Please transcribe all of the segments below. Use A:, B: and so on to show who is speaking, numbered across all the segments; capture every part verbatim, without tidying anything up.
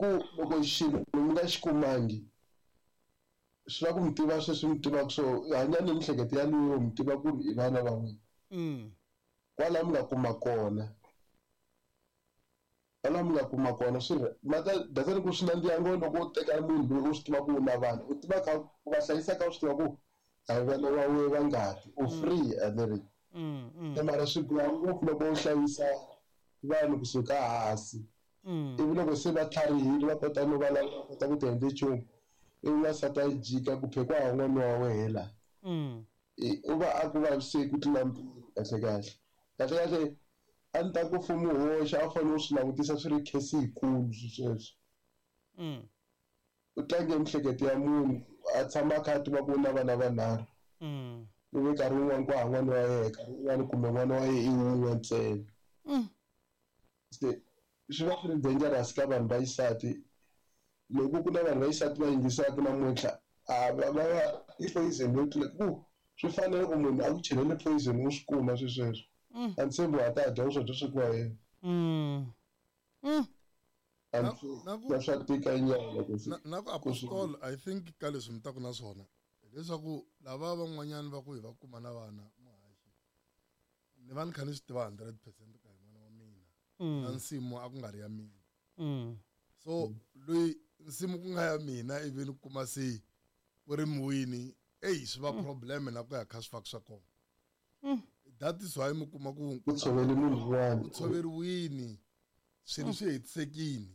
A: ku loko xilo mi nga xi kumangi swi lava ku mi tiva sweswi mi tivaka so hanya ni mihleketo yaliyo mi tiva ku ri i vana va n'wina.
B: Mm.
A: Kwala mi nga kuma kona. Kwala mi nga kuma kona swi ri mata data ku swi nandziha ngopfu loko u teka munhu loyi u swi tiva ku u na vana u tiva kha u va hlayisa kha u swi tiva ku a hi vana va we va ngati u free a ni ri.
B: Mm, mm.
A: Mara swi biha ngopfu loko u hlayisa vanhu kusuka hansi.
B: Mm.
A: Ivi loko se va tlharihile va kota no va lava va kota ku ti endla nchumu ivi wansati a jika ku phekwa ha n'wana wa wehe la.
B: Mm.
A: U va a ku vaviseki ku tlula mpimo kahle kahle. Kahle kahle a ni ta ku mfumo wu hoxa a wu fanele u swi langutisa swi ri case yikulu sweswo.
B: Mm.
A: U tlange mihleketo ya munhu a tshama a kha a tiva ku u na vana vanharhu.
B: Mm.
A: Ivi nkarhi wun'wani ku hava n'wana wa yena nkarhi wun'wani kumbe n'wana wa yena i wun'we ntsena.
B: Mm.
A: Se swi va swi ri dangerous ka vanhu va xisati. Loko ku na vanhu va xisati va yingisaka namuntlha a va va va i poison yo tlula ku swi fanele ku munhu a ku chelele poison u swi kuma swi sweswo.
B: Mm.
A: A ni tshembi wa ta dya swakudya swa ku wa yena.
B: Mm. Mm.
A: A
C: Na-
A: ni
C: na ku-
A: na swa tika nyana ku swi
C: na na ku
A: ku swi
C: apostol I think ka leswi mi taku na swona hileswaku lava van'wanyana va ku hi va kuma na vana muhaxi ni va ni kha ni swi tiva hundred percent ka hi n'wana wa mina
B: Mm.
C: na nsimu a ku nga ri ya mina.
B: Mm.
C: So loyi nsimu ku nga ya mina ivi ni kuma se ku ri muwini eyi swi va problem na ku ya kha swi faka swa kona.
B: Mm.
C: That is why mi kuma ku
A: ku tshovele munhu un'wana.
C: ku tshoveriwini swilo swi hetisekini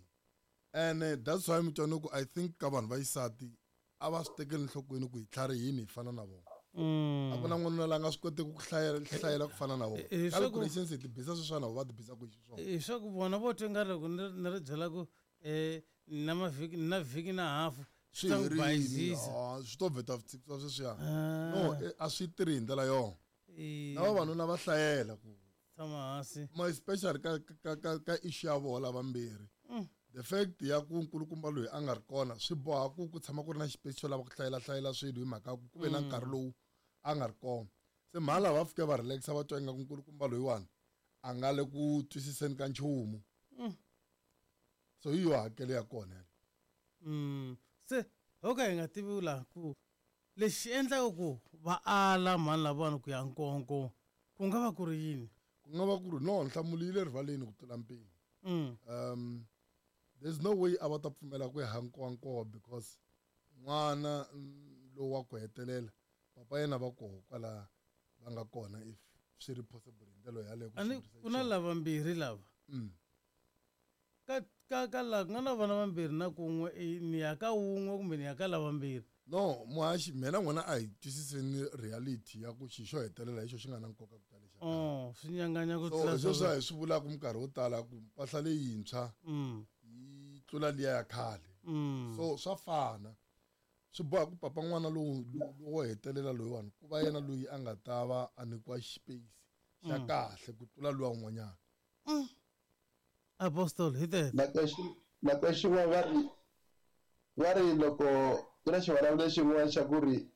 C: and that's why mi twa ni ku I think ka vanhu va xisati a va swi tekeli enhlokweni ku hi tlharihini hi fana na vona.
B: Mm.
C: A ku na n'wanuna la nga swi koteki ku hlayela hlayela ku fana na vona.
B: Eh, swa ku-
C: Calculations hi ti bisa sweswiwani na vona va ti bisa ku xiswona.
B: Hi swa ku vona vo twa nga loko ni ri ni ri byela ku eh na mavhiki na vhiki na hafu
C: Swi
B: swi ta n'wi
C: herile.
B: bayizisa.
C: Ah, swi to vheta swi tshikisiwa sweswiya.
B: Ah.
C: No, eh, a swi tirhi hi ndlela yona.
B: Eh,
C: Na vavanuna va hlayela ku
B: tshama hansi.
C: ma especially ka ka ka ka issue ya vona lavambirhi.
B: Mm.
C: The fact ya ku nkulukumba loyi a nga ri kona swi boha ku ku tshama ku ri na xipesi xo lava ku hlayela hlayela swilo hi mhaka ku ku ve na nkarhi lowu a nga ri kona. Se mhani lava va fike va relaxa va twa ingaku nkulukumba loyiwani a nga le ku twisiseni ka nchumu.
B: Mm.
C: So hi yo hakelo ya kona yaleyo.
B: Mm. Se ho ka hi nga tivi laha ku lexi endlaka ku va ala mhani lavawani ku ya nkonko ku nga va ku ri yini?
C: Ku nga va ku ri no nhlamulo yi le rivaleni ku tlula mpimo.
B: Mm.
C: Um there's no way a va ta pfumela ku ya nkowankowa because n'wana lowu wa ku hetelela papa yena va koho kwala va nga kona if swi ri possible hi ndlela yaleyo ku
B: A ni
C: swi endlisa
B: ku na
C: xiswona.
B: lavambirhi lava.
C: Mm.
B: Ka ka ka la ku nga na vana vambirhi na kun'we i ni ya ka wun'we kumbe ni ya ka lavambirhi.
C: No, muhaxi mina n'wina a hi twisiseni reality ya ku xi xo hetelela hi xo xi nga na nkoka ku tala lexa.
B: Oh, swi nyanganya ku
C: So
B: tlula
C: hi sweswo
B: swa
C: hi swi vulaka minkarhi yo tala ku mpahla leyintshwa
B: Mm.
C: yi tlula liya ya khale.
B: Mm.
C: So swa fana. Swi boha ku papa n'wana lowu lowo hetelela loyiwani ku va yena loyi a nga ta va a nyikiwa space xa
B: Mm.
C: kahle ku tlula luwa un'wanyana.
B: Mm. Apostol hi tete.
A: Nako nako xin'wana va ri va ri loko ku na xivulavulelo xin'wana xa ku ri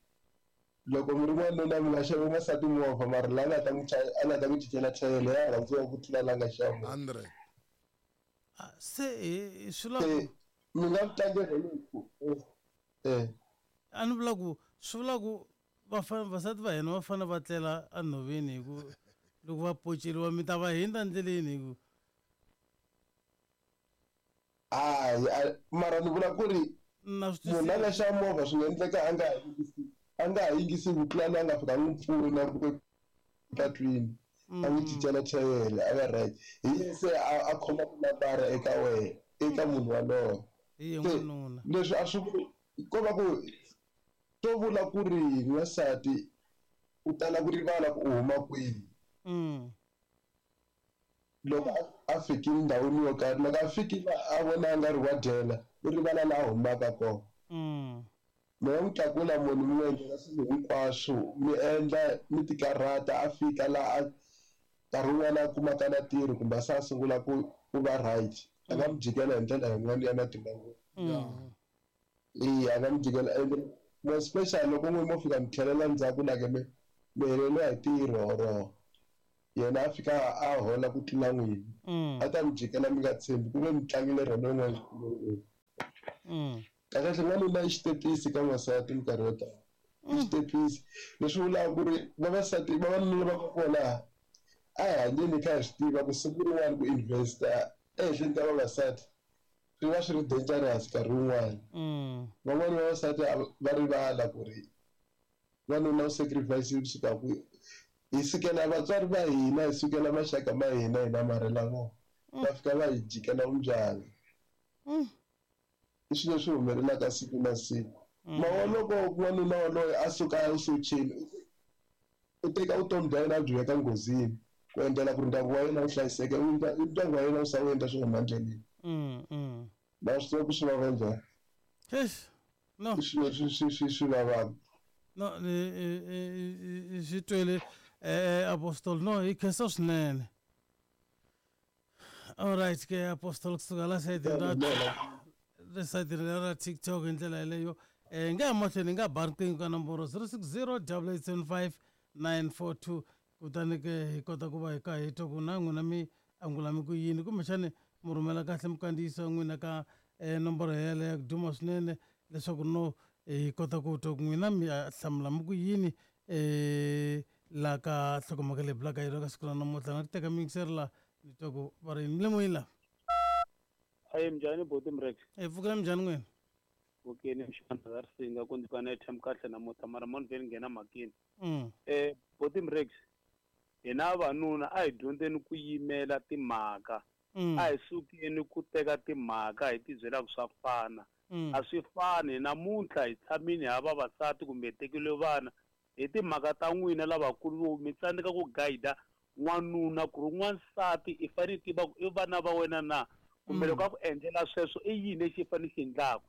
A: loko mi ri n'wanuna mi nga xavi n'wansati movha mara la nga ta n'wi a nga ta n'wi cincela chayele ya rhandziwa ku tlula la nga xava movha.
C: Hundred.
B: Ah, se hi swi vula
A: Se
B: ku
A: mi nga tlangela ku eh
B: a ni vula ku swi vula ku vafana vasati va hina va fanele va tlela enhoveni hi ku loko va poceriwa mi ta va hindza ndleleni hi ku
A: hayi mara ni vula ku ri
B: na swi
A: munhu a nga
B: twisisa.
A: xava movha swi nga endleka a nga ha yingisi a nga ha yingisi ku tlula loyi a nga fika a n'wi pfuna ku patwini a n'wi cincela chayele a va right hi yena se a a khoma nambara eka wena eka munhu walowo.
B: Hi ye
A: Se
B: n'wanuna.
A: leswi a swi ko va ku to vula ku ri n'wansati u tala ku rivala ku u huma kwihi.
B: Mm.
A: Loko a fikile ndhawini yo karhi loko a fikile a vona a nga ri wa dyela u rivala laha a humaka kona.
B: Mm.
A: Mi nga n'wi tlakula munhu mi n'wi endlela swilo hinkwaswo mi endla mi ti karhata a fika laha a nkarhi wun'wani a kumaka na ntirho kumbe a se a sungula ku ku va right a nga mi jikela hi ndlela yin'wana ya matimba ngopfu.
B: Mm.
A: Eya a nga mi jikela ende more especially loko n'we mo fika mi tlhelela ndzhaku like mi mi heleriwa hi ntirho or yena a fika a hola ku tlula n'wina
B: Mm.
A: a ta mi jikela mi nga tshembi ku ve mi tlangile rona yin'wana. Kahle kahle n'wanuna i xitepisi ka n'wansati minkarhi yo tala. I xitepisi leswi vulaka ku ri vavasati vavanuna va kona a hi hanyeni kha hi swi tiva ku siku rin'wana ku investa ehenhleni ka vavasati swi va swi ri dangerous nkarhi wun'wani. Van'wani vavasati va rivala ku ri n'wanuna u sacrifice kusuka kwihi. Hi sukela vatswari va hina, hi sukela maxaka ma hina hi namarhela vona. Va fika va hi jikela vumbyana. I swilo leswi humelelaka siku na siku. Mara loko n'wanuna waloye a suka a ya esocheni u teka vutomi bya yena a byi veka nghozini ku endlela ku ri ndyangu wa yena wu hlayiseka, ndyangu wa yena wu sala wu endla swo huma endleleni. Na swi tiva ku swi vava njhani.
B: Eish, no.
A: I swilo leswi swi swi swi vavaka.
B: No, ni swi twele eh Apostle, no, hi khensa swinene. All right ke Apostle kusuka la sayitini ra le sayitini ra TikTok hi ndlela yeleyo. Eh nga ya mahlweni hi nga ba riqingho ka nomboro zero six zero double eight seven five nine four two kutani ke hi kota ku va hi kha hi twa ku na n'wina mi angula mi ku yini kumbexani mi rhumela kahle minkandziyiso ya n'wina ka eh nomboro yeleyo ya ku duma swinene leswaku no hi kota ku twa ku n'wina mi hlamula mi ku yini eh la ka nhlokomhaka leyi bulaka yona ka siku ra namuntlha na ku teka miyingiseri la ni twa ku va ri yini mi le moyeni la.
D: Ayi minjhani buti Mrex?
B: Hi pfukile minjhani n'wina?
D: Okay, ni mxana ra risinga ku ndzi ka na airtime kahle namuntlha mara mo ni vhe ni nghena mhakeni.
B: Mm.
D: Eh buti Mrex, hina vavanuna a hi dyondzeni ku yimela timhaka.
B: Mm.
D: A hi sukeni ku teka timhaka hi ti byela ku swa fana.
B: Mm.
D: A swi fani namuntlha hi tshamini ha vavasati kumbe hi tekile vana hi timhaka ta n'wina lavakulu mi tsandzeka ku guide n'wanuna ku ri n'wansati i fanele tiva ku i vana va wena na kumbe loko a ku endlela sweswo i yini lexi i fanele xi endlaka.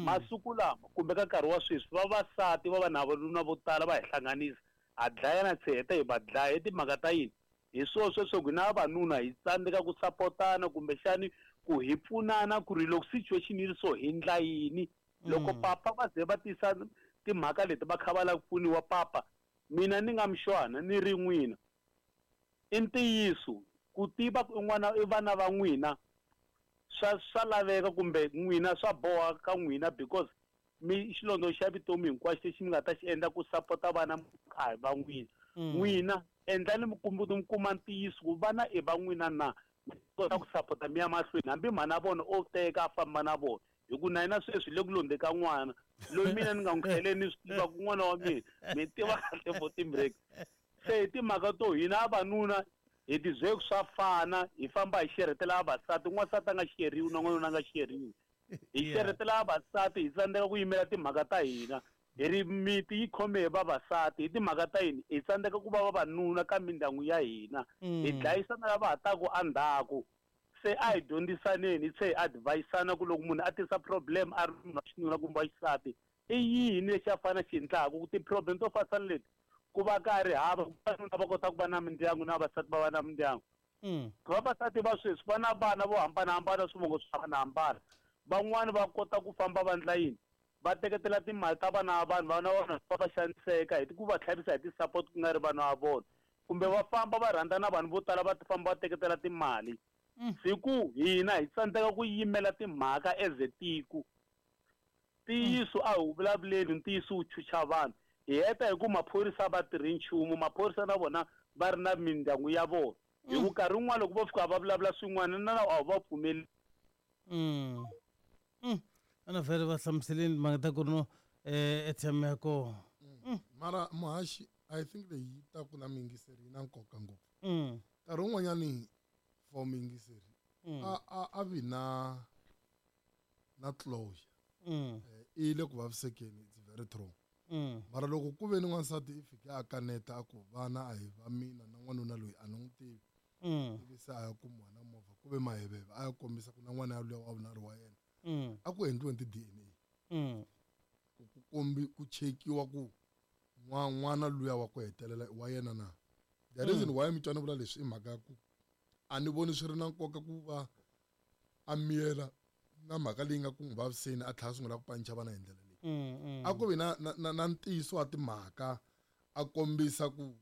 D: Masiku lama kumbe ka nkarhi wa sweswi vavasati va va na vanuna vo tala va hi hlanganisa ha dlayana se heta hi va dlaya hi timhaka ta yini. Hi swo sweswo ku hina vavanuna hi tsandzeka ku sapotana kumbexani ku hi pfunana ku ri loko situation yi ri so hi ndla yini. Loko papa va ze va tisa timhaka leti va kha va lava ku pfuniwa papa, mina ni nga mixwana ni ri n'wina i ntiyiso ku tiva ku i n'wana i vana va n'wina swa swa laveka kumbe n'wina swa boha ka n'wina because mi xilondza xa vutomi hinkwaxo lexi mi nga ta xi endla ku sapota vana a hi va n'wina. N'wina endlani mi mi kuma ntiyiso ku vana i va n'wina na mi kota ku sapota mi ya mahlweni hambi mhana vona o teka a famba na vona hi ku na yena sweswi le ku londze ka n'wana loyi mina ni nga n'wi tlheleni ni swi tiva ku n'wana wa mina mi tiva kahle buti Mrex. Se hi timhaka to hina vavanuna hi ti byele ku swa fana hi famba hi xerhetela vavasati n'wansati a nga xeriwi na n'wanuna a nga xeriwi hi xerhetela vavasati hi tsandzeka ku yimela timhaka ta hina hi ri miti yi khome hi vavasati hi timhaka ta yini hi tsandzeka ku va vavanuna ka mindyangu ya hina hi dlayisana lava ha taku endzhaku. Se a hi dyondzisaneni hi tlhe hi advise-ana ku loko munhu a tisa problem a ri munhu wa xinuna kumbe wa xisati i yini lexi a fanele a xi endlaka ku ti-problem to fana na leti ku va ka ri hava vavanuna va kota ku va na mindyangu na vavasati va va na mindyangu. Vavasati va sweswi va na vana vo hambanahambana swivongo swo hambanahambana van'wani va kota ku famba va ndla yini va teketela timali ta vana va vanhu vana va vona va va xaniseka hi ku va tlhavisa hi ti-support ku nga ri vana va vona kumbe va famba va rhandza na vanhu vo tala va famba va teketela timali. Siku hina hi tsandzeka ku yimela timhaka as a tiko. Ntiyiso a hi wu vulavuleni ntiyiso wu chucha vanhu hi heta hi ku maphorisa va tirhi nchumu maphorisa na vona va ri na mindyangu ya vona hi ku nkarhi wun'wana loko vo fika va vulavula swin'wana na a wu va pfumeli.
B: Mm. Mm. Ana vhele va hlamuseleni mhaka ta ku ri no eh airtime ya kona.
C: Mara muhaxi I think leyi yi ta ku na miyingiseri yi na nkoka ngopfu.
B: Mm.
C: Nkarhi wun'wanyani for miyingiseri a a a vi na na closure.
B: Mm.
C: I le ku vavisekeni it's very true.
B: Mm.
C: Mara loko ku ve ni n'wansati i fike a kaneta a ku vana a hi va mina na n'wanuna loyi a ni n'wi tivi.
B: Mm.
C: Ivi se a ya kumiwa na movha ku ve maheveve a ya kombisa ku na n'wana yaloye wa vunharhu wa yena.
B: Mm.
C: A ku endliweni ti D N A.
B: Mm.
C: Ku ku kombi ku chekiwa ku n'wa n'wana luya wa ku hetelela wa yena na. The reason why mi twa ni vula leswi i mhaka ya ku a ni voni swi ri na nkoka ku va a miyela na mhaka leyi nga ku n'wi vaviseni a tlhela a sungula ku panicha vana hi ndlela leyi.
B: Mm, mm.
C: A ku vi na, na, na, na ntiyiso wa timhaka a kombisa ku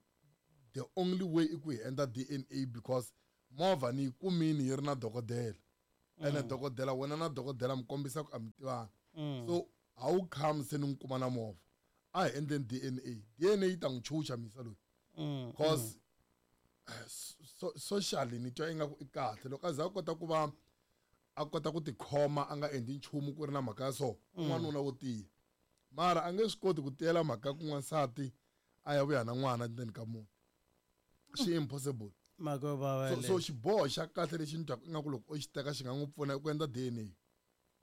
C: the only way i ku hi endla D N A because movha ni yi kumini yi ri na dokodela. Ene dokodela wena na dokodela mi kombisa ku a mi tivani.
B: Mm.
C: So A wu come se ni n'wi kuma na movha. A hi endleni D N A. D N A yi ta n'wi chucha misa loyi. Cause so, socially ni twa ingaku i kahle loko a za a kota ku va a kota ku tikhoma a nga endli nchumu ku ri na mhaka ya so n'wanuna wo tiya mara a nge swi koti ku tiyela mhaka ku n'wansati a ya vuya na n'wana ndzeni ka muti swi impossible
B: mhaka yo vava
C: so so xiboho xa kahle lexi ni twaka ingaku loko o xi teka xi nga n'wi pfuna ku endla D N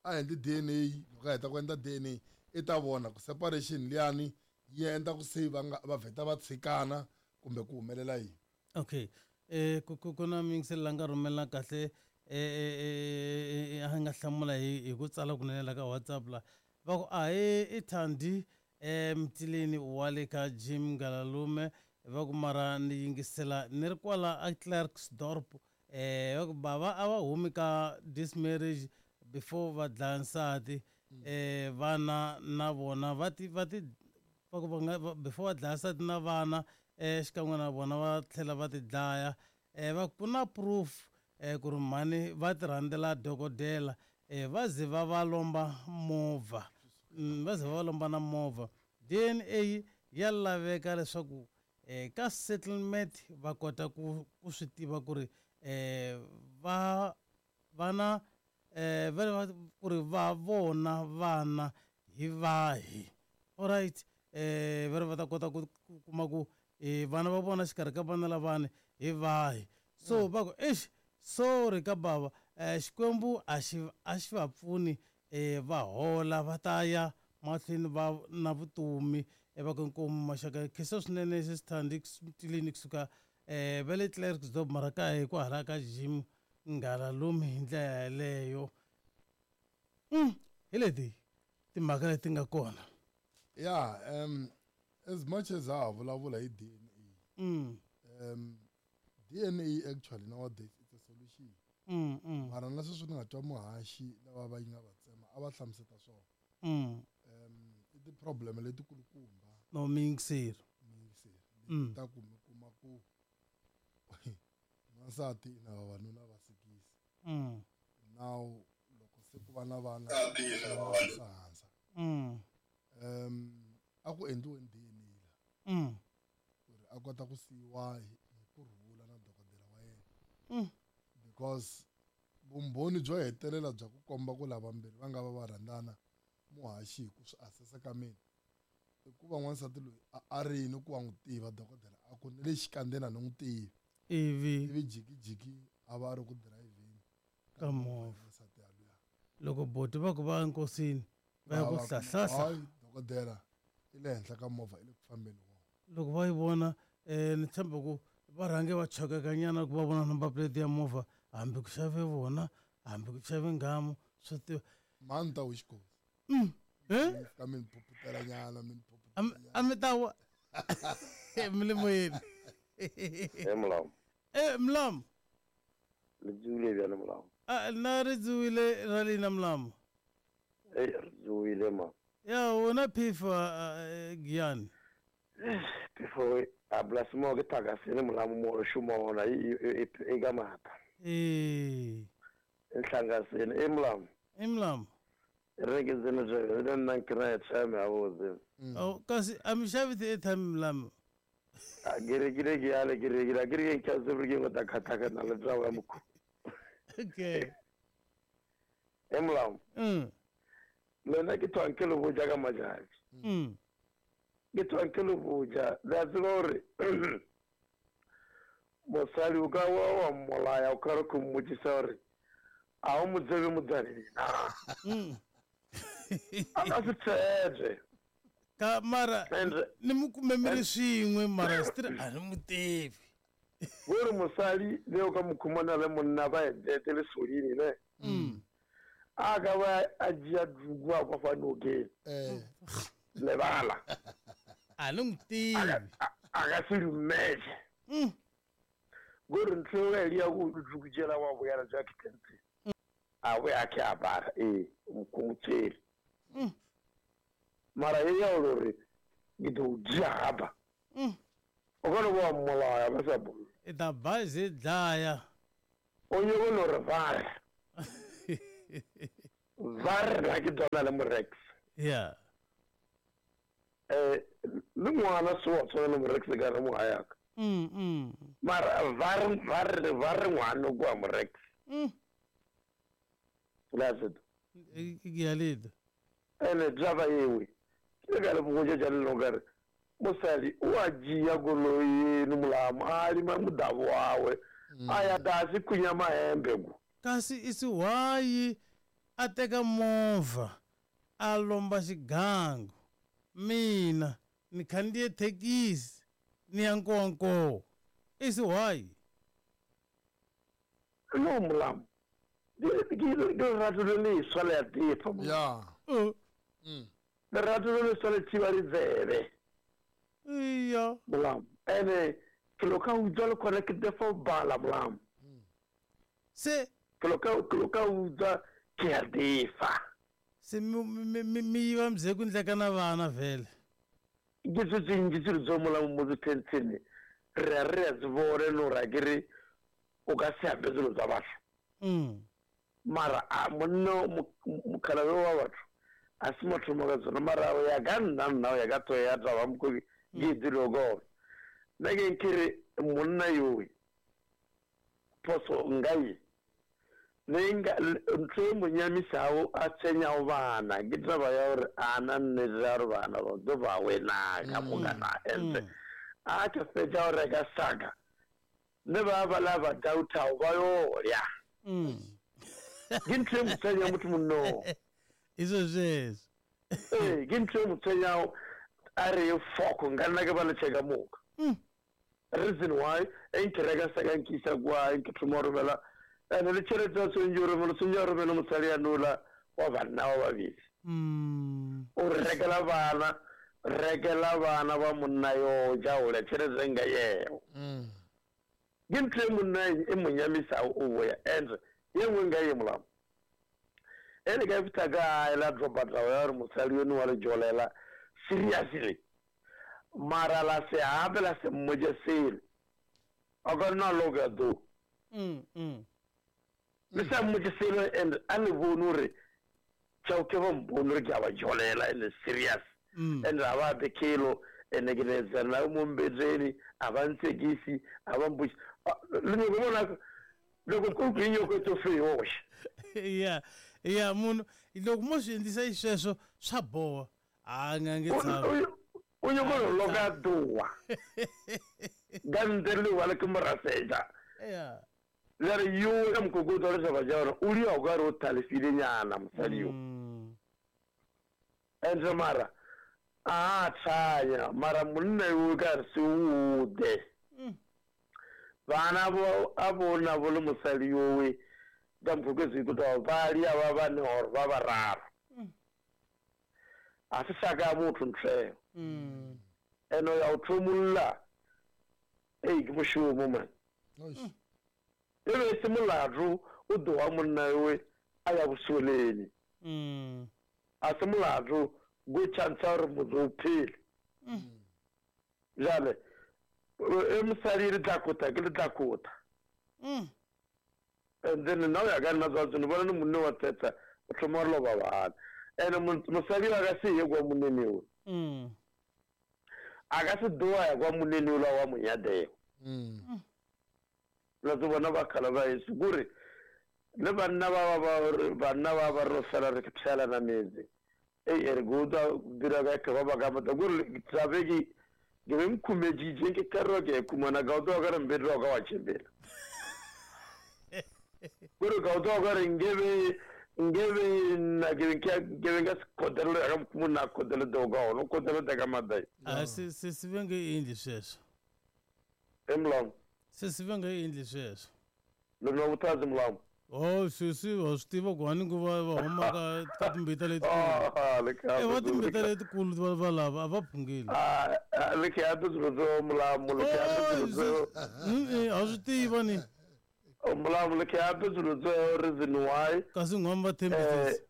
C: A a endli D N A loko a heta ku endla D N A i ta vona ku separation liyani yi endla ku se va nga va vheta va tshikana kumbe ku humelela yini.
B: Okay eh ku ku na mingiselo la nga rhumela kahle eh a nga hlamula hi ku tsala kunene la ka WhatsApp la va ku a hi i Thandi eh Mtileni wa le ka Jim Ngalalume va ku mara ni yingisela ni ri kwala a Klerksdorp eh va ku bava a va humi ka this marriage before va dlaya nsati eh vana na vona va ti va ti va ku va nga before va dlaya nsati na vana eh xikan'we na vona va tlhela va ti dlaya eh va ku na proof eh ku ri mhani va ti rhandzela dokodela eh va ze va va lomba movha va ze va va lomba na movha D N A ya laveka leswaku eh ka settlement va kota ku ku swi tiva ku ri eh va vana eh va ku ri va vona vana hi vahi alright eh va ri va ta kota ku kuma ku eh vana va vona xikarhi ka vana lavani hi vahi so va ku eish sorry ka bava eh Xikwembu a xi a xi va pfuni eh va hola va ta ya mahlweni va na vutomi va ku inkomu maxaka khensa swinene Sesithandi Mtileni kusuka eh va le Klerksdorp mara ka hi kwahala ka Jim Ngalalume hi ndlela yeleyo mm hi leti timhaka leti nga kona.
C: Yeah, um as much as a vulavula hi D N A
B: mm
C: um D N A actually nowadays it's a solution.
B: Mm mm
C: mara na sweswi ni nga twa muhaxi lava va yi nga va tsema a va hlamuseta swona.
B: Mm
C: um i ti-problem letikulukumba
B: no miyingiseri
C: miyingiseri
B: Mm.
C: ta ku mi kuma ku n'wansati na vavanuna va sikisi
B: mm
C: now loko se ku va na vana hansa
B: mm
C: um a ku endliweni D N A la
B: mm
C: ku ri a kota ku siyiwa hi ku rhula na dokodela wa yena
B: mm
C: because vumbhoni byo hetelela bya ku komba ku lavambirhi va nga va va rhandzana muhaxi hi ku swi assessa ka mina i ku va n'wansati loyi a a rini ku wa n'wi tiva dokodela a ku ni le xikandzeni a ni n'wi tivi
B: ivi
C: ivi jikijiki a va a ri ku dirayivheni
B: ka movha
C: n'wansati yaluya
B: loko boti va ku va enkosini va ya ku hlahlahla
C: dokodela i le henhla ka movha i le ku fambeni wona
B: loko va yi vona eh ni tshemba ku va rhange va chokekanyana ku va vona number plate ya movha hambi ku xave vona hambi ku xave nghamu swo tiva
C: mhani ta wixikosi
B: mm eh
C: ka mi ni phuputela nyana mi ni
B: a mi ta wa mi le moyeni
E: e molao
B: eh mlamu
E: le tsoile bjale molao
B: a na ri tsoile ra lina mlamu
E: e re tsoile ma
B: ya wona phifa Giyani
E: phefo a blase mo ke thakasele molamu mo re šoma gona e ka maatla
B: ee
E: e hlangasele e molamu
B: e mlamu
E: re ke tsene le nna nkry airtime gabotse
B: oh kasi a mi xavi ti-airtime mlamu
E: a ke rekile ke yale ke rekile a ke re ke nkatse gore ke go ta kgatlhakana le tao ya mokhu
B: okay
E: e molamu
B: mm
E: lena ke thwang ke le boja ka matšatši
B: mm
E: ke thwang ke le boja le a tseba gore mosadi o ka wa wa mmolaya o ka re ko mmotsisa gore a o mo tsebe motswaneng na
B: mm
E: a ka se tsebe
B: ka mara
E: And
B: ni mi kume mi ri swin'we mara still a ni mu tivi
E: gore mosadi le o ka mo khumana le monna ba etete le sodini ne
B: mm
E: a ka ba a dzhia duku a kwa fa nokeng
C: eh
E: lebala
B: a ni n'wi tivi
E: a ka se dumele
B: mm
E: gore ntho eo e ya go duku jela wa boyana jwa kitente a bo ya ke a bara ee mokomotswele
B: mm
E: mara e ya gore ke tlo dzhia gapa
B: mm
E: o ka no ba mmolaya ba sa bolle
B: i ta bazi dlaya
E: o nyako no re bare ba re nna ke tswana le morex
B: Yeah.
E: Eh le ngwana se wa tshwana le morex ka re mo hayaka.
B: Mm mm.
E: Mara va va va ri ngwana kwa morex.
B: Mm.
E: That's it.
B: Ke
E: ene java yewe. Ke ka le bogoja ja le longare. Mosadi o a dzhia goloi eno mulamu a lima muḓavhu wawe a ya dasi kunya mahembe ku
B: kasi isi why a teka movha a lomba xigangu mina ni khandziye thekisi ni ya nkonko isi why
E: no mulamu ke lerato le leswa le a tefa
C: ya
E: lerato le leswa le thiba ditsebe
B: iya
E: mulamu ene ke lo ka utswa le khona ke tefa bala mulamu
B: se
E: ke lo ka ke lo ka utswa ke a tefa
B: se mi mi yiva mzeku ndleka na vana vhele
E: ke tse tsintsi tse tso mulamu mo ditentshene re a re a tse bone no ra ke re o ka se ape dilo tsa batho
B: mm
E: mara a monna mokgalabe wa batho a se motho mo ka tsona mara o ya ka nna nna o ya ka tso ya taba moko ke dilo go nna ke nkere monna yowe phoso ngai ne nga ntho e mo nyamisago a tsenyago bana ke taba ya gore a na nnete ya gore bana ba tlo ba wena ka moka na ente a ke fetša go reka saka ne ba ba la ba doubtao ba yo ya ke ntho e mo tsenya motho monno
B: izwo zwezwo
E: ee ke ntho e mo tsenyago a re foko nka nna ke ba le cheka moka reason why e nke reka saka nkisa kwa nke thoma romela ene le tšhelete ya tshwanetse o romela tshwanetse o romela mosadi ya nola wa banna ba babedi o re rekela bana rekela bana ba monna yo ja ole tšhelete nka yeo ke ntho e monna e mo nyamisago o boya and ye nngwe nka ye molamo ene ka fihla ka la dropa taba ya gore mosadi yono wa le jolela seriously mara la se ape la se mmotse selo a ka nna loka do le sa mmotse selo and a le bone gore tšao ke ba mpone gore ke a ba jolela and serious and a ba ape kelo ene ke letsana mo mbetseni a ba ntsekisi a ba mpotse le nyako bona loko ku ku nyoko to fe yoxe
B: ya ya munhu loko mo swi endlisa xisweswo swa boha a nga nge tshami
E: o nyoko loka duwa gandeli wala ke moraseja
B: ya
E: le re yo ka mokokotlo le taba ja gore o lia o ka re o thalefile nyana mosadi yo ende mara a tshanya mara monna yo ka re se ode bana bo a bona bo le mosadi yowe ka mokokotlo ikutlwa ba lia ba bane or ba bararo a se saka motho ntle eno ya o thomolla ei ke mošomo man e be se molato o doa monna yowe a ya bosoleni a se molato go chance gore motho o phele jale e mosadi le tla kota ke le tla kota and then nna o ya ka nna tsa tsone bona le monne wa tsetsa o thoma go loba bana ene mosadi wa ka se ye kwa monene o a ka se doa ya kwa monene ola wa monyadeo la tse bona ba kgala ba ese kore le banna ba ba banna ba ba re fela re pshelana metse ei e re go utlwa dira ka ke ba ba ka mata kore tlabe ke ke be nkhumeditše ke karwa ke khumana ka utlwa ka re mbetlo wa ka wa tšhepela kore ka utlwa ka re nkebe nkebe nna ke ke ke nka se khotelelo ya ka monna khotelelo ka ona o khotelelo ka madai
B: a se se se ve nge endli sweswo
E: e mulamu
B: se se ve nge endli sweswo
E: lona vuthazi mulamu
B: oh sesi wa swi tiva ku hani ku va va huma ka ka timbita letikulu
E: ah
B: e va timbita letikulu va va lava a va phungile
E: ah le ke ape swilo tseo mulamu le ke ape swilo
B: tseo a swi tiva ni
E: mulamu le ke ape swilo tseo reason why
B: kasi n'wana va thembisisa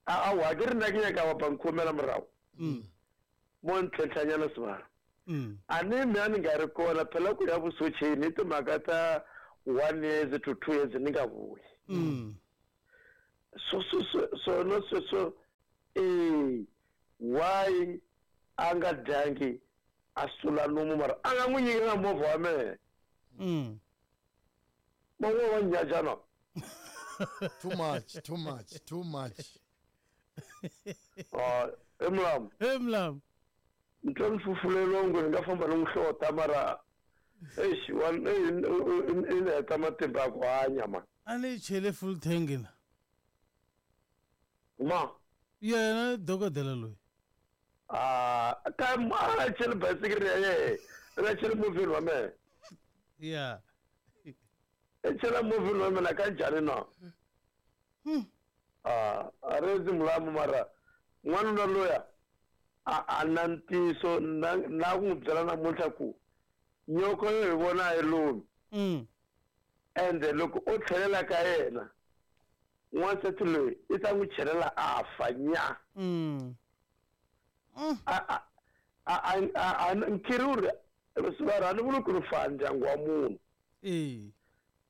E: a wa ke re nna ke nyaka bapa nkhomela morago mo ntlhentlhanyana sebala a ne mme a ni nga ri kona phela ku ya vusocheni i timhaka ta one years to two years ni nga vuyi so so so sona sweswo Eh why a nga dyangi a sula nomu mara a nga n'wi nyiki na movha wa mehe.
B: Mm.
E: Man'we wa nyajana.
C: Too much, too much, too much.
E: Ah, emlam.
B: Emlam.
E: Ntwa mfufulelo ngo nga famba no hlota mara eish one in heta matimba ku hanya ma.
B: A ni chele full tank na.
E: Ma.
B: Yena dokodela loyi.
E: Ah, ka ma chele bicycle ya ye. Ra chele movie wa me.
B: Yeah.
E: E chela movie wa me la ka njhani na?
B: Hmm.
E: Ah, a rezi mulamu mara n'wanuna loya a a na ntiyiso na na ku n'wi byela namuntlha ku nyoko yo hi vona hi lumi.
B: Mm.
E: Ende loko o tlhelela ka yena n'wansati loyi i ta n'wi chelela a fa nya.
B: Mm. Mm.
E: A a a a a nkiri ri a ni vuli ku ri fa ndyangu wa munhu.
B: Eh.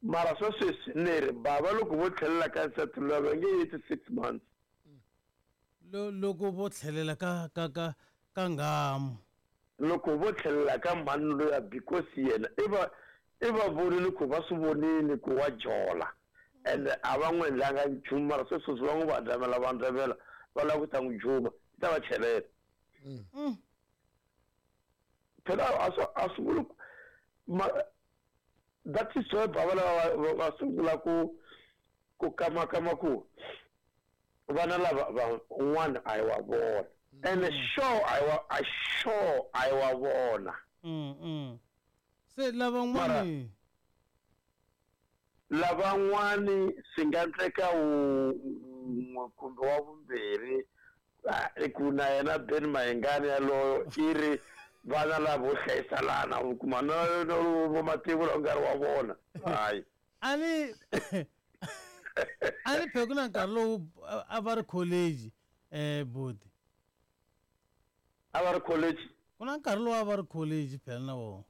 E: Mara swa sweswi ni ri bava loko vo tlhelela ka nsati loyi va nge heti six months.
B: Lo loko vo tlhelela ka ka ka ka nghamu.
E: Loko vo tlhelela ka mhani loya because yena i va i va vonile ku va swi vonile ku wa jola ende a va n'wi endlanga nchumu mara sweswi va n'wi vandlamela vandlamela va lava ku ta n'wi juma i ta va chelela.
B: Mm.
E: Phela a swi a swi vuli ku ma that is why bava lava va sungula ku ku kamakama ku vana lava van'wana a hi wa vona ene sure a hi wa a sure a hi wa vona.
B: Mm mm. Se lavan'wani
E: lavan'wani swi nga endleka wun'we kumbe wa vumbirhi ku na yena Ben Mayengani yaloyo i ri vana lavo hlayisalana u kuma na vo mativu la nga ri wa vona. Hayi.
B: A ni a ni phe ku na nkarhi lowu a va ri college eh buti.
E: A va ri college?
B: Ku na nkarhi lowu a va ri college phela na vona.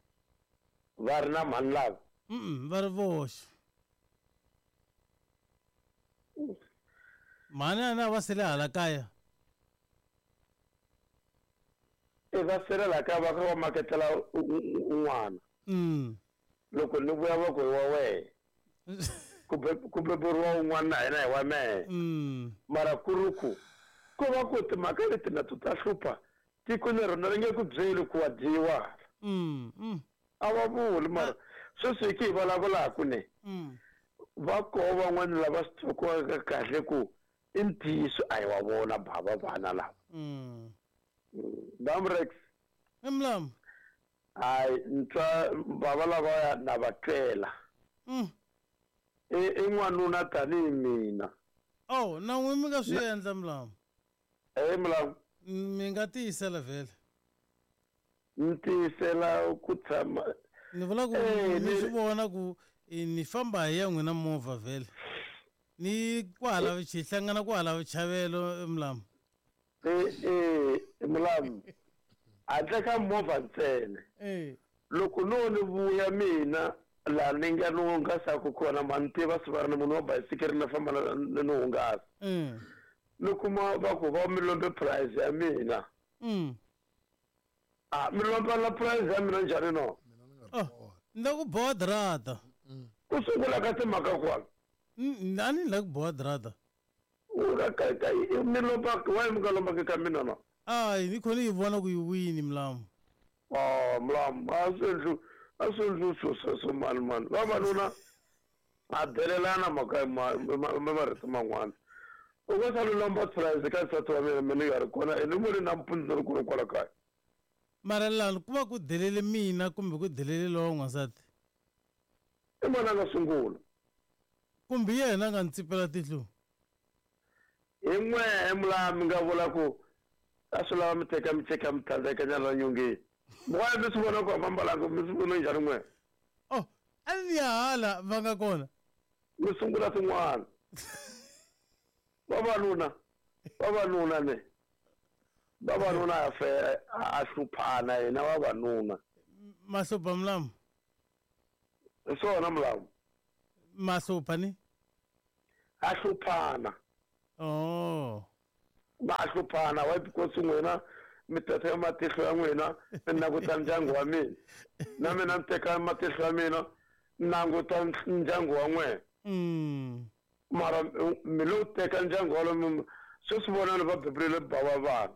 E: Va ri na mhani lava?
B: Mm va ri voxe. Mhani a na va sele hala kaya.
E: E va sele la kaya va kha va maketela un'wana.
B: Mm.
E: Loko ni vuya va ku hi wa wehe. Ku beburiwa un'wana na hina hi wa mehe.
B: Mm.
E: Mara ku ri ku ko va ku timhaka leti na to ta hlupha tiko ni rona ri nge ku byeli ku wa dyiwa.
B: Mm. Mm.
E: A va vuli mara sweswi hi ki hi vulavulaka ne.
B: Mm.
E: Va koho van'wana lava swi twaku kahle ku i ntiyiso a hi wa vona bava vana lava.
B: Mm.
E: Damrex.
B: Emlam.
E: Hayi ntwa bava lava na va twela.
B: Mm.
E: I i n'wanuna tanihi mina.
B: Oh, na n'wi mi nga swi endla mlamu.
E: Eh mlamu.
B: Mi nga tiyisela vhele.
E: Ni tiyisela ku tshama.
B: Ni vula ku ni swi vona ku ni famba hi ya n'wina movha vhele. Ni kwala xi hlangana kwala vuchavelo mlamu.
E: Eh eh mlamu. Handle ka movha ntsena.
B: Eh.
E: Loko no ni vuya mina laha ni nga ni hungasaka kona ma ni tiva swi va ri ni munhu wa bayisikiri na famba ni ni hungasa.
B: Mm.
E: Ni kuma va ku va mi lombe price ya mina.
B: Mm.
E: Ah, mi lomba la price ya mina njhani no?
B: Oh, ni la ku boha drata.
E: Ku sungula ka timhaka kwala.
B: A ni la ku boha drata.
E: U ka ka ka mi lomba why mi nga lombaki ka mina no?
B: Hayi ni khona yi vona ku yi wini mlamu.
E: Oh, mlamu a swi endli a swi endli swilo sweswo mani mani. Vavanuna a delelana mhaka marito man'wana. U nga sali lomba price ka nsati wa mina mina nga ri kona ene ni vone nampundzu ni ri kona kwala kaya.
B: Mara lani ku va ku delele mina kumbe ku delele lowa n'wansati?
E: I mani a nga sungula?
B: Kumbe yena a nga ni tsipela tihlo?
E: Hi n'wehe mulamu mi nga vula ku a swi lava mi teka mi teka mi tlhandleka nyana nyongeni. Why mi swi vona ku a va mbalanga mi swi vona njhani n'wehe?
B: Oh, a ni ya hala va nga kona.
E: Mi sungula tin'wana. Vavanuna, vavanuna ne. Vavanuna a fe a hluphana hina vavanuna.
B: Mahlupha mulamu?
E: Hi swona mulamu.
B: Mahlupha ni?
E: A hluphana.
B: Oh.
E: Va hluphana why because n'wina mi teka matihlo ya n'wina mi languta ndyangu wa mina na mina ni teka matihlo ya mina ni languta ndyangu wa n'wina mara mi lo teka ndyangu walowo sweswi vonani va bebulele ba wa vana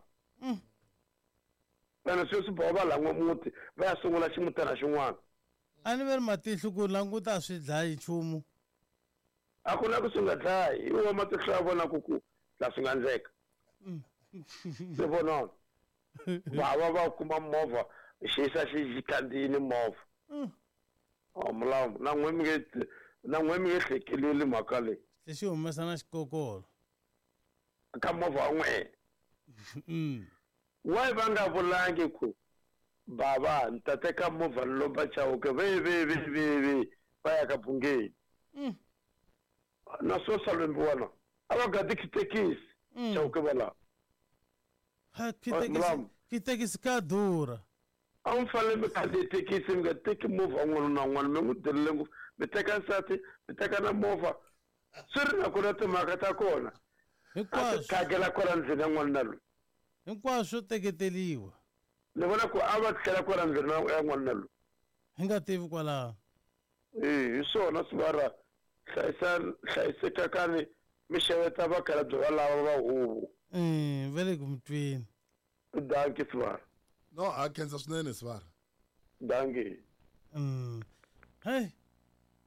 E: ene sweswi ba va lan'wa muti va ya sungula ximutana xin'wana
B: a ni ve ri matihlo ku languta a swi dlayi nchumu
E: a ku na ku swi nga dlayi hi wa matihlo ya vona ku ku la swi nga endleka se vonani bava va kuma movha xi yisa xi khandziyile movha oh mulamu na n'we mi nge na n'we mi nge hlekeleli mhaka leyi
B: lexi humesa na xikokolo
E: ka movha wa n'we why va nga vulangi ku bava ni ta teka movha ni lomba Chauke ve ve ve ve ve va ya ka Bungeni na swo salombiwa na a va gadi thekisi Chauke va lava
B: ha thekisi thekisi ka durha
E: a mi fanele mi khandziya thekisi mi nga teki movha wun'wana na wun'wana mi n'wi delele ngopfu mi teka nsati mi teka na movha swi ri na ku na timhaka ta kona
B: hinkwaswo
E: khagela kwala ndlwini ya n'wanuna loyi
B: hinkwaswo swo teketeliwa
E: ni vona ku a va tlhela kwala ndlwini ya n'wanuna loyi
B: hi nga tivi kwalaho
E: e hi swona swi va ra hlayisa hlayisekakani mi xeweta vakhalabye va lava va huvo
B: va le ku mi twini
E: danki Sivara
C: no a khensa swinene Sivara
E: danki
B: mm hey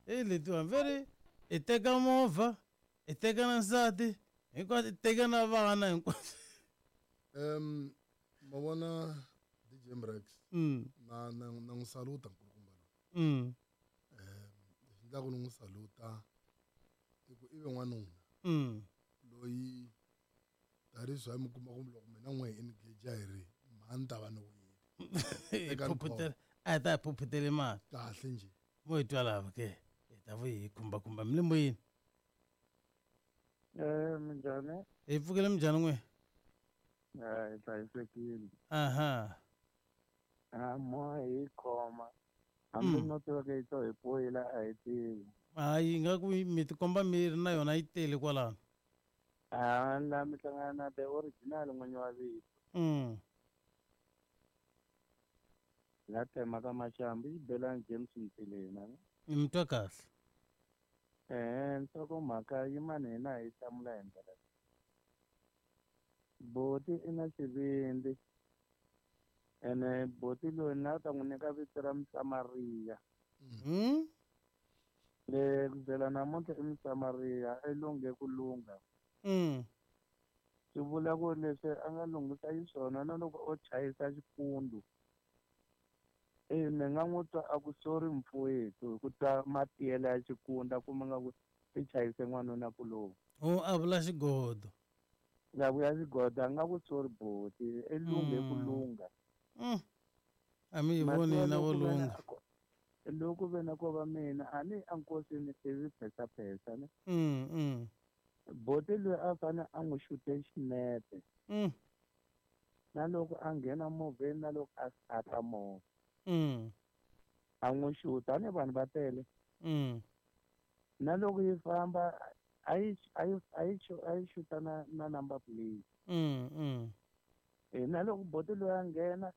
B: e letiwa veri i teka movha i teka na nsati hinkwaswo i teka na vana hinkwaswo
C: um ma vona D J Mrex
B: mm
C: na na na n'wi saluta nkulukumba loyi
B: mm
C: um lexi endlaku ni n'wi saluta i ku i ve n'wanuna
B: mm
C: loyi tanihi a mi kuma ku loko mina n'we hi engage hi ri mhani ta va ni wile
B: hi phuphutela a hi ta hi phuphutele mali
C: kahle njhe
B: mo hi twa lava ke hi ta vuyi hi khumbakhumba mi le moyeni
F: Eh minjhani
B: hi pfukile minjhani n'we
F: eh hi hlayisekile
B: aha
F: a moya hi khoma hambi
B: Mm.
F: no tiva yi to hi poyila a hi tivi
B: hayi ingaku mi tikomba mi ri na yona yi tele kwalano
F: a la mi hlangana na the original n'winyi wa vito
B: mm
F: la tema ka Maxambu i Xibelani James Mtilena
B: ni mi twa kahle
F: eh nhlokomhaka yimani hina hi hlamula hi ndlela leyi. Boti i na xivindzi ene boti loyi na ta n'wi nyika vito ra Musamariya
B: mm
F: le ku byela namuntlha i Musamariya i lunghe ku lungha
B: mm
F: swi vula ku leswi a nga lunghisa xiswona na loko o chayisa xikundu e ni nga n'wi twa a ku sorry mfowethu hi ku twa matiyela ya xikunda kuma nga ku i chayise n'wanuna kulomu
B: o a vula xigodo
F: nga vuya xigodo a nga ku sorry boti i lunghe ku
B: Mm.
F: lungha
B: mm a mi yi voni
F: Matiwa
B: na vo
F: loko ve na
B: lungha
F: ko- loko ve na ko va mina a ni enkosini ivi phesapesa ne
B: mm mm
F: boti loyi a fane a n'wi xute xinepe
B: mm
F: na loko a nghena movheni na loko a stata movha
B: mm
F: a n'wi xuta a ni vanhu va tele
B: mm
F: na loko yi famba a yi a yi a yi xu- a yi xuta na na number plate
B: mm mm
F: e na loko boti loyi a nghena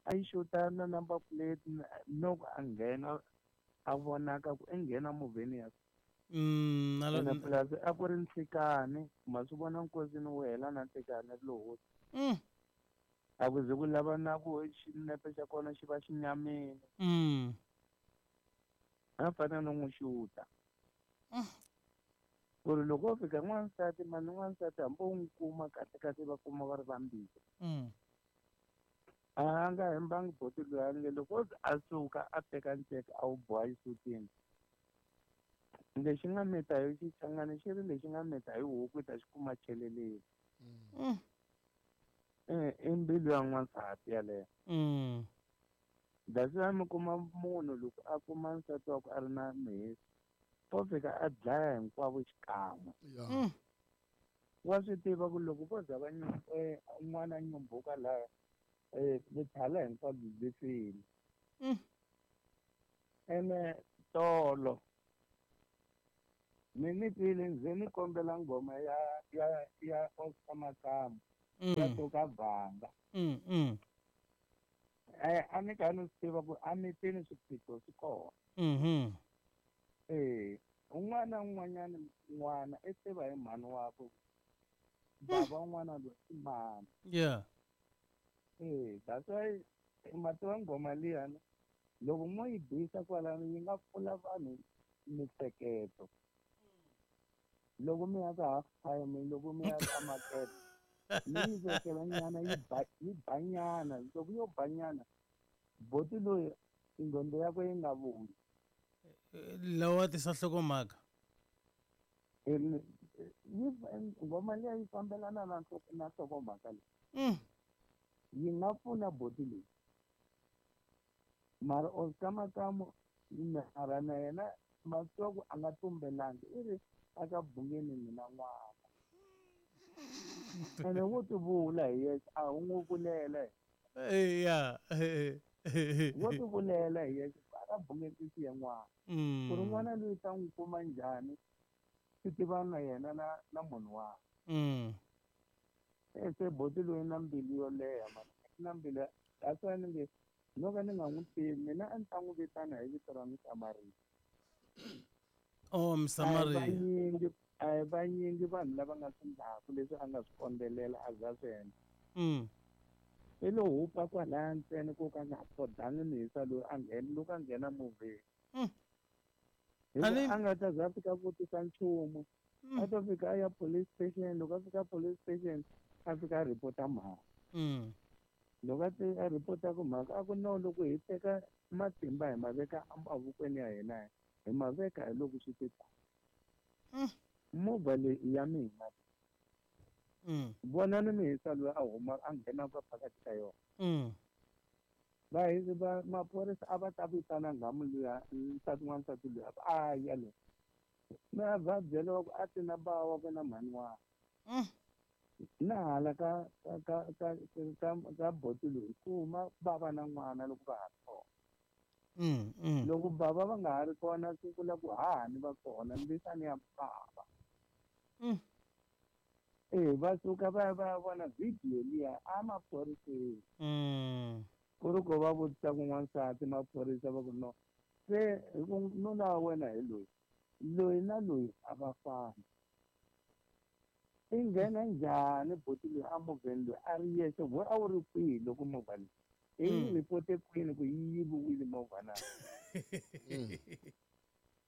F: a yi xuta na number plate na- loko a nghena a vonaka ku i nghena movheni ya
B: mm na
F: ene
B: lo
F: plus a ku ri nhlikani ma swi vona nkosini wu hela na nhlikani lowo
B: mm
F: a ku ze ku lava na ku xinepe xa kona xi va xi nyamile
B: mm
F: a fanele no n'wi xuta
B: Mm.
F: ku ri loko wo fika n'wansati mani n'wansati hambi u n'wi kuma kahle kahle va kuma va ri vambirhi
B: mm
F: a nga hembangi boti loyi a nge loko o ze a suka a teka nceka a wu boha xisutini lexi nga mita hi xichangani xi ri lexi nga mita hi huku i ta xi kuma cheleleni
B: mm
F: e i mbilu ya n'wansati yaleyo
B: mm
F: that's why mi kuma munhu loko a kuma nsati wa ku a ri na mhesi o fika a dlaya hinkwavo xikan'we
C: ya
B: mm
F: wa swi tiva ku loko vo za va nyu- eh, un'wana a nyumbuka laha um vuthala hinkwabyo byi file
B: mm
F: ene tolo mi ni twile ndzi ni kombela nghoma ya ya ya Oscar Makamu Ya suka Vhanga.
B: Mm mm.
F: Eh a ni ka ni swi tiva ku a mitini swiphiqo swi kona.
B: Mhm.
F: Eh un'wana na un'wanyana n'wana i tiva hi mhani wakwe. Baba un'wana loyi i mani.
B: Yeah.
F: Eh that's why ma tiva nghoma liyani loko mo yi bisa kwalano yi nga pfula vanhu mihleketo. Loko mi ya ka half time loko mi ya ka market mi yi vekela nyana yi ba yi ba nyana loko yo ba nyana boti loyi ingqondo yakwe yi nga vuyi.
B: Lawa tisa nhlokomhaka.
F: Yi nghoma liya yi fambelana na na nhlokomhaka leyi.
B: Mm.
F: Yi nga pfuna boti leyi. Mara Oscar Makamu mara na yena ma twa ku a nga tumbelangi i ri aka Bungeni mina n'wana. Ene wo ti vula hi yexe a wu n'wi vulela.
B: Eh yeah.
F: Wo ti vulela hi yexe aka Bungeni i siye n'wana. Ku ri n'wana loyi ta n'wi kuma njhani swi tiva na yena na na munhu wakwe.
B: Mm.
F: Se boti loyi na mbilu yo leha mani na mbilu that's why ni nge no ka ni nga n'wi tivi mina a ni ta n'wi vitana hi vito ra Msamariya.
B: Oh Msamariya.
F: A hi vanyingi vanhu lava nga swi ndlaku leswi a nga swi kondzelela a za swi endla.
B: Mm.
F: I lo hupa kwalaya ntsena ku ka nga thodanga mihisa loyi a nghena loko a nghena movheni.
B: Mm.
F: Hi a nga ta za fika vutisa nchumu. A to fika a ya police station loko a fika police station a fika a ripota mhaka.
B: Mm.
F: Loko a a ripota ku mhaka a ku no loko hi teka matimba hi ma veka emavokweni ya hina hi ma veka hi loko swi te ta. Movha leyi i ya mina.
B: Mm.
F: Vonani mihisa loyi a huma a nghenaka phakathi ka yona.
B: Mm.
F: Va hi va maphorisa a va ta vitana nghamu luya nsati n'wansati luya a ya loyi. Na va byela ku a ti na bava wakwe na mhani wakwe.
B: Mm.
F: Na hala ka ka ka ka ka boti loyi ku huma bava na n'wana loko va ha ri kona.
B: Mm, mm.
F: Loko bava va nga ha ri kona swi vula ku hahani va kona mbisani ya bava.
B: Mm.
F: Eh va suka va ya va ya vona video liya a maphoriseni.
B: Mm.
F: Ku ri ku va vutisa ku n'wansati maphorisa va ku no se hi ku nuna wa wena hi loyi loyi na loyi a va fani. I nghena njhani boti loyi a movheni loyi a ri yexe we a wu ri kwihi loko movha leyi i yi ripote kwini ku yi yiviwile movha na?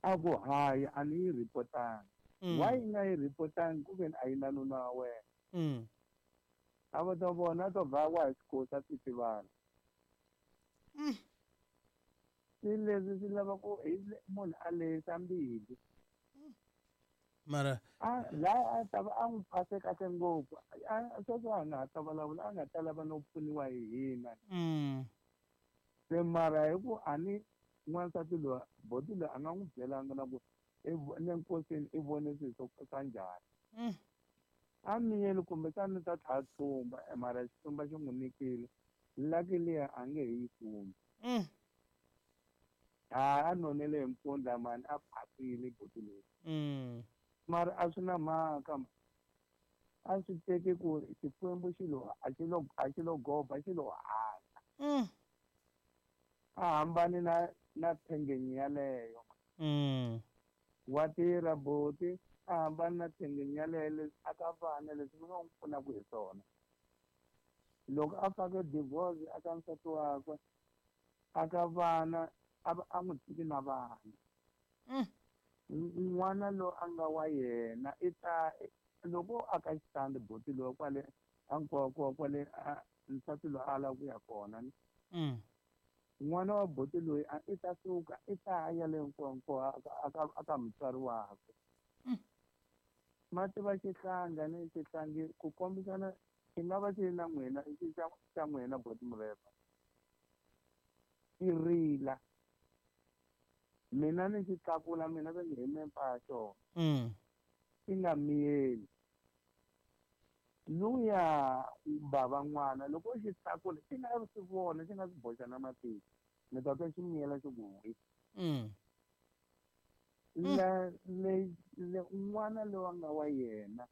F: A ku hayi a ni yi ripotangi. Why yi nga yi ripotangi ku veni a yi na nuna wa wena?
B: Mm.
F: A va ta vona a to vhawa hi xikosi a titivana. Swilo leswi swi lava ku hi munhu a lehisa mbilu.
B: Mara
F: a laha a ta va a n'wi phase kahle ngopfu a sweswo a nga ha ta vulavula a nga ta lava no pfuniwa hi hina.
B: Mm.
F: Se mara hi ku a ni n'wansati loyi boti loyi a nga n'wi byelanga na ku le nkosini i vone swilo swo swa njhani.
B: Mm.
F: A miyeli kumbexana ta tlhela tsumba mara xitsumba xi n'wi nyikile lucky liya a nge he yi kumi.
B: Mm.
F: A a nonele hi mpfundla mani a phasile boti loyi.
B: Mm.
F: Mara a swi na mhaka a swi teki ku Xikwembu xi lo a xi lo a xi lo goba xi lo hala.
B: Mm.
F: A hambani na na thengenyi yaleyo.
B: Mm.
F: Wa tirha boti a hambani na thengenyi yaleyo leswi a ka vana leswi mi nga n'wi pfunaka hi swona. Loko a fake divorce a ka nsati wakwe a ka vana a a n'wi tshiki na vana.
B: Mm.
F: N'wana loyi a nga wa yena i ta loko a ka xitandi boti loyi kwale a nkoka kwale nsati loyi a lava ku ya kona.
B: Mm.
F: N'wana wa boti loyi a i ta suka i ta ya le nkonko a ka a ka mutswari wakwe.
B: Mm.
F: Ma tiva xihlanga ni xihlangi ku kombisana xi nga va xi ri na n'wina xi xa xa n'wina boti Mureva. Xi rila. Mina ni xi tlakula mina va nge hi mempa ya xona.
B: Mm.
F: Xi nga miyeli. Luya bava n'wana loko xi tlakula xi nga swi vona xi nga swi boxa na matihlo mi ta twa xi miyela xi ku hwi.
B: Mm.
F: La le le un'wana loyi a nga wa yena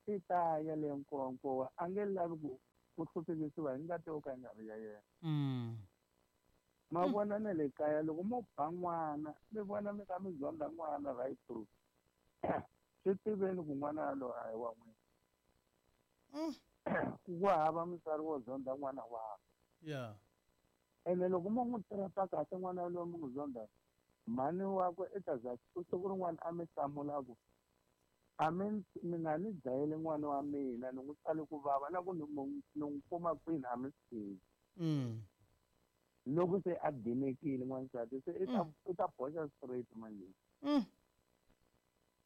F: I ta ya le Nkowankowa a nge lavi ku ku hluphekisiwa hi ngati yo ka yi nga ri ya yena.
B: Mm.
F: Ma vona na le kaya loko mo ba n'wana mi vona mi ka mi zonda n'wana right through. Swi tiveni ku n'wana yaloye a hi wa n'wina.
B: Mm.
F: Ku hava mutswari wo zonda n'wana wakwe.
B: Yeah.
F: Ene loko mo n'wi tirhisa kahle n'wana yaloye mi n'wi zonda mhani wakwe i ta za siku rin'wana a mi hlamula ku a mi mi nga ni dlayeli n'wana wa mina ni n'wi tsale ku vava na ku ni ni n'wi kuma kwini a mi swi tivi.
B: Mm.
F: Loko se a dinekile n'wansati se i ta i ta boxa straight manje.
B: Mm.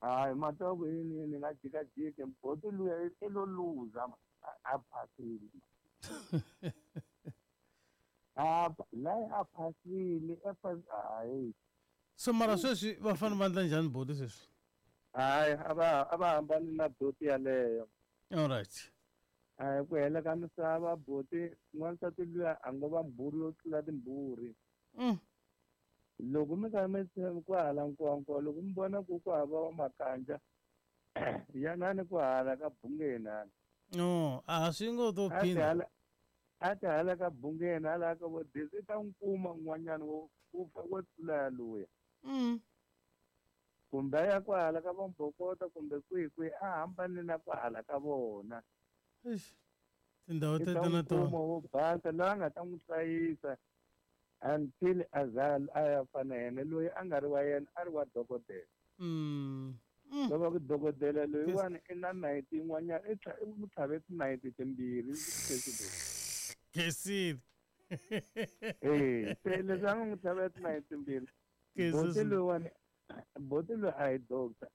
F: Hayi mata ku yini ni nga jikajiki boti luya i lo luza a phasile. A layi a phasile a hayi.
B: So mara sweswi va fanele va endla njhani boti sweswi?
F: Hayi a va a va hambani na boti yaleyo.
B: All right.
F: Hayi ku hela ka misava boti n'wansati luya a ngo va mbhuri yo tlula timbhuri.
B: Mm.
F: Loko mi kha mi tshama kwahala Nkowankowa loko mi vona ku ku hava wa makanja yanani ku hala ka Bungeni hala.
B: No, a swi ngo to phinda.
F: A ti hala ka Bungeni hala ka vo Desi i ta n'wi kuma un'wanyana wo wo tlula yaluya.
B: Mm.
F: Kumbe a ya kwahala ka vo Mbhokota kumbe kwihi kwihi a hambane na kwahala ka vona.
B: Eish. Tindhawu teto na tona.
F: Kuma wo basa loyi a nga ta n'wi hlayisa until a za a ya fana yena loyi a nga ri wa yena a ri wa dokodela.
B: Mm. Mm.
F: Loko ku dokodela loyiwani i na nayiti yin'wanyana i i n'wi tlhave tinayiti timbirhi
B: Khensile.
F: Eh, se leswi a nga n'wi tlhava tinayiti timbirhi. Boti loyiwani boti loyi a hi doctor.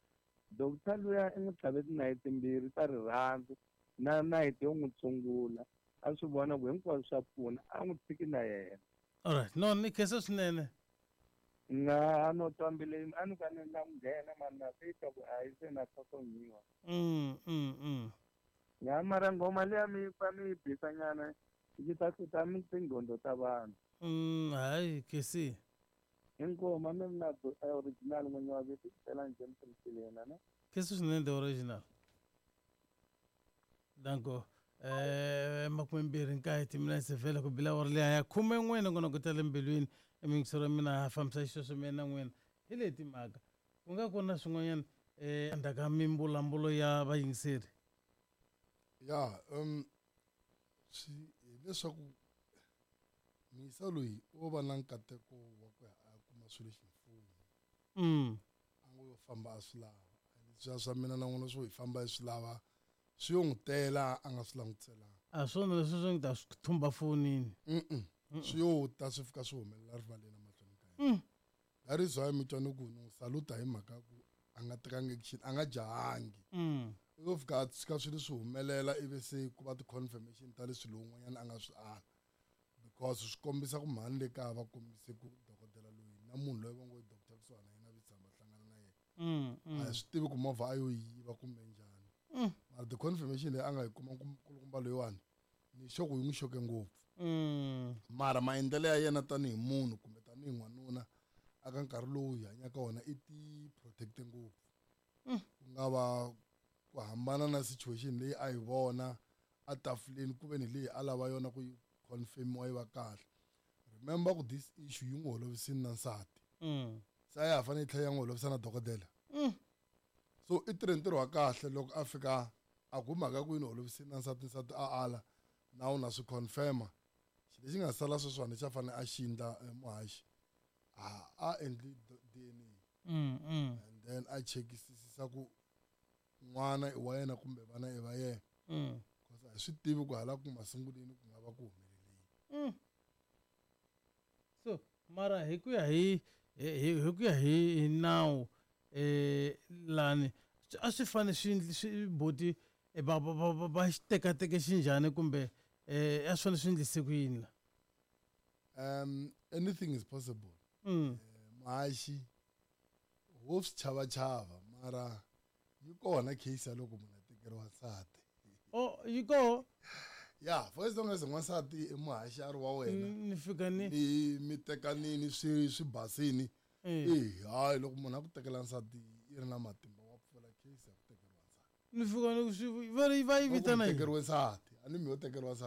F: Doctor luya i n'wi tlhave tinayiti timbirhi ta rirhandzu na nayiti yo n'wi tshungula. A swi vona ku hinkwaswo swa pfuna a n'wi tshiki na yena.
B: All right. No, ni khensa swinene.
F: Na no twa mbilu a ni ka ni la nghena mani na titwa ku a yi se na tlhotlhonyiwa.
B: Mm, mm, mm.
F: Ya mara nghoma liya mi pfa mi yi bisa nyana yi ta hluta mi tingqondo ta vanhu.
B: Mm, hayi khensile.
F: Inkomu mi na original n'winyi wa vito tlhela njhe mi tirhisile yena ne?
B: Khensa swinene the original. Danko. Eh makume mbirhi nkaye timinetse vhele ku bila awara liya ya khume n'we nongonoko ta le mbilwini emiyingisero ya mina ha fambisa xisweswo mina na n'wina hi leyi timhaka ku nga ku na swin'wanyana eh endzhaku ka mimbulambulo ya vayingiseri.
C: Ya um swi hileswaku muyisa loyi o va na nkateko wa ku ya a kuma swilo ximfumo.
B: Mm.
C: A ngo yo famba a swi lava leswiya swa mina na n'wina swo hi famba hi swi lava swi yo n'wi tela a nga swi langutiselanga.
B: A swona leswi swi n'wi ta swi thumba fonini.
C: Mm-mm. Swi yo ta swi fika swi humelela rivaleni emahlweni ka yena.
B: Mm.
C: That is why mi twa ni ku ni n'wi saluta hi mhaka ku a nga tekangi action a nga jahangi.
B: Mm.
C: U yo fika a tshika swilo swi humelela ivi se ku va ti-confirmation ta leswi lowun'wanyana a nga swi ala because swi kombisa ku mhani le kaya va kombise ku dokodela loyi na munhu loyi va ngo i doctor kusuhana yena vi tshama hlangana na yena.
B: Mm, mm.
C: A hi swi tivi ku movha a yo yiva kumbe njhani.
B: Mm.
C: Mara the confirmation leyi a nga yi kuma nkulukumba loyiwani ni sure ku yi n'wi xoke ngopfu.
B: Mm.
C: Mara maendlelo ya yena tanihi munhu kumbe tanihi n'wanuna aka nkarhi lowu hi hanyaka wona i ti protect-e ngopfu.
B: Mm.
C: Ku nga va ku hambana na situation leyi a yi vona a tafuleni ku ve ni leyi a lava yona ku yi confirm-iwa yi va kahle. Remember ku this issue yi n'wi holovisini na nsati.
B: Mm.
C: Se a ya ha fanele yi tlhela ya n'wi holovisa na dokodela.
B: Mm.
C: So i tirhe ntirho wa kahle loko a fika a ku mhaka ku yi ni holovisini na nsati nsati a ala na wu na swi confirm-a. Xilo lexi nga sala sweswiwani lexi a fanele a xi endla muhaxi a a endli D N A.
B: Mm, mm.
C: And then a chekisisa ku n'wana i wa yena kumbe vana i va yena.
B: Mm.
C: Because a hi swi tivi ku hala ku masunguleni ku nga va ku humeleleni.
B: Mm. So mara hi ku ya hi hi hi ku ya hi nawu eh lani a swi fane swi swi boti va va va va xi tekateke xinjhani kumbe eh a swi fane swi endlise ku yini la?
C: Um anything is possible.
B: Mm.
C: Muhaxi wo swi chavachava mara yi kona case ya loko munhu a tekeriwa nsati.
B: Oh, yi koho?
C: Yeah, for as long as n'wansati i muhaxi a ri wa wena.
B: Ni fika ni
C: mi mi tekanini swi swi basini.
B: Eh.
C: Eh, hayi loko munhu a ku tekela nsati yi ri na matimba wa pfula case ya ku tekeriwa nsati.
B: Ni fika ni swi va ri va yi vitana yini?
C: Tekeriwe nsati a ni mi yo tekeriwa nsati.